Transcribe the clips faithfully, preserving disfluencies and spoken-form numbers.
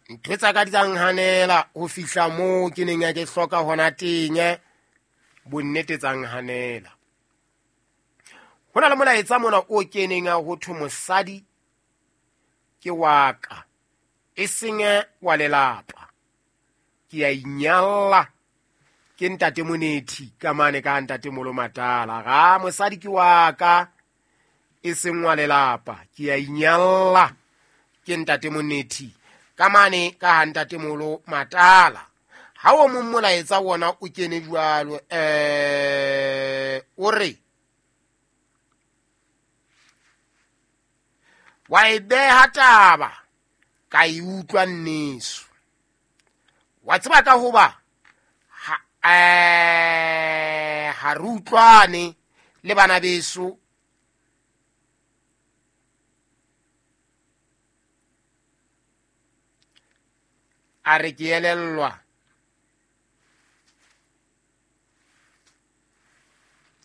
Ntho tsa ka di tsa nhanela ho fihla moo ke neng ke hloka hona teng, bonnete tsa nhanela. Ho na le molaetsa mona o keneng a ho thwe mosadi ke wa ka, e seng wa lelapa. Ke a inyalla ke ntate Monethi ka mane ka ntate Molo Matala. Ga mosadi ke wa ka, e seng wa lelapa. Ke a inyalla ke ntate Monethi ka mane ka ntate Molo Matala. Ha o mong molaetsa wona o kene jwalo, eh o re wa e beha taba ka e utlwa nneso. Wa tseba ka hoba ha eh ha re utlwane le bana beso, a re ke elellwa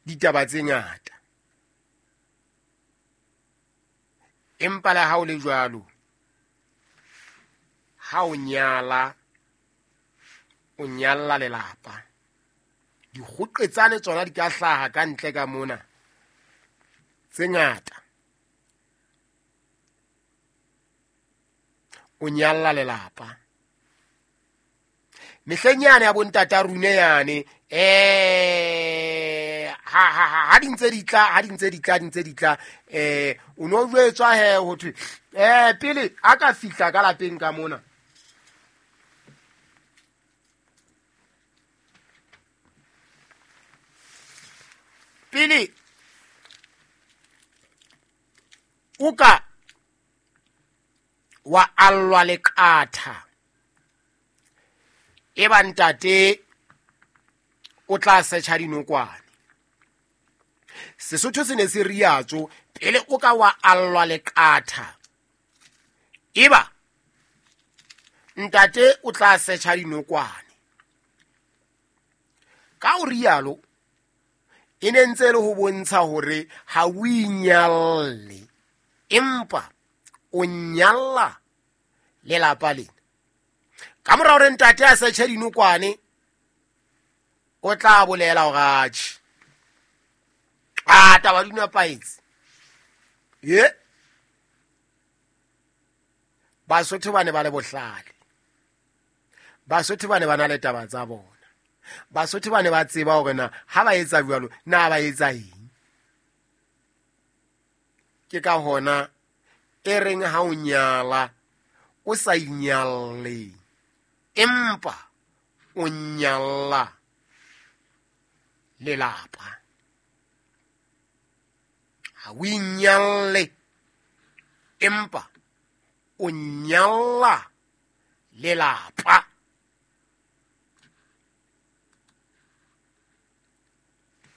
ditaba tse ngata. Empa le ha o le jwalo, ha o nyala, o nyalla lelapa. Dikgoqetsane tsona di ka hlaha ka ntle ka mona tse ngata. O nyalla lelapa. Mehleng yane ya bontata rune yane, eh ha ha ha di ntse di tla, ha di ntse di tla, di ntse di tla, eh o no jwetswa he ho thwe eh pele a ka fihla ka lapeng ka mona. Pele o ka wa allwa leqatha, e ba ntate o tla setjha dinokwane. Sesotho se ne se riatso, pele o ka wa allwa leqatha, e ba ntate o tla setjha dinokwane. Ka o rialo e ne ntse le ho bontsha hore ha o inyalle, empa o nyalla lelapa lena. Ka mora hore ntate a setjhe dinokwane, o tla bolela hore atjhe, a taba di nepahetse. Ye Basotho ba ne ba le bohlale, Basotho ba ne ba na le taba tsa bona, Basotho ba ne ba tseba hore na ha ba etsa jwalo na ba etsa eng. Ke ka hona e reng ha o nyala o sa inyalle, empa o nyalla lelapa. Ha o inyalle, empa o nyalla lelapa.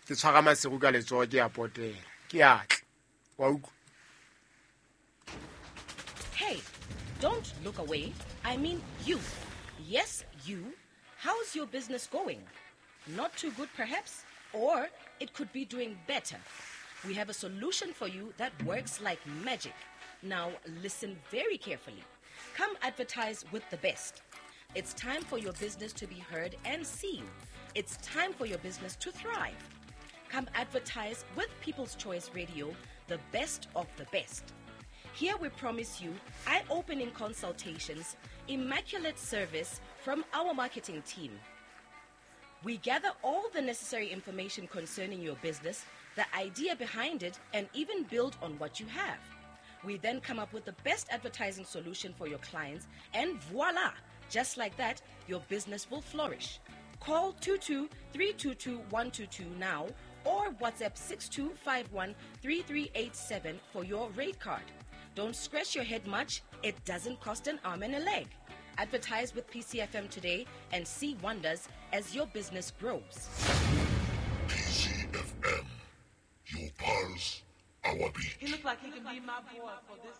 Ke tshwara Maseru ka letsoho, ke a potela, ke a tla. Wa utlwa? Hey, don't look away. I mean you. Yes, you. How's your business going? Not too good, perhaps, or it could be doing better. We have a solution for you that works like magic. Now, listen very carefully. Come advertise with the best. It's time for your business to be heard and seen. It's time for your business to thrive. Come advertise with People's Choice Radio, the best of the best. Here we promise you eye-opening consultations, immaculate service from our marketing team. We gather all the necessary information concerning your business, the idea behind it, and even build on what you have. We then come up with the best advertising solution for your clients, and voila! Just like that, your business will flourish. Call two two three two two one two two now or WhatsApp six two five one three three eight seven for your rate card. Don't scratch your head much. It doesn't cost an arm and a leg. Advertise with P C F M today and see wonders as your business grows. P C F M, your pulse, our beat. He looked like he can be my boy for this.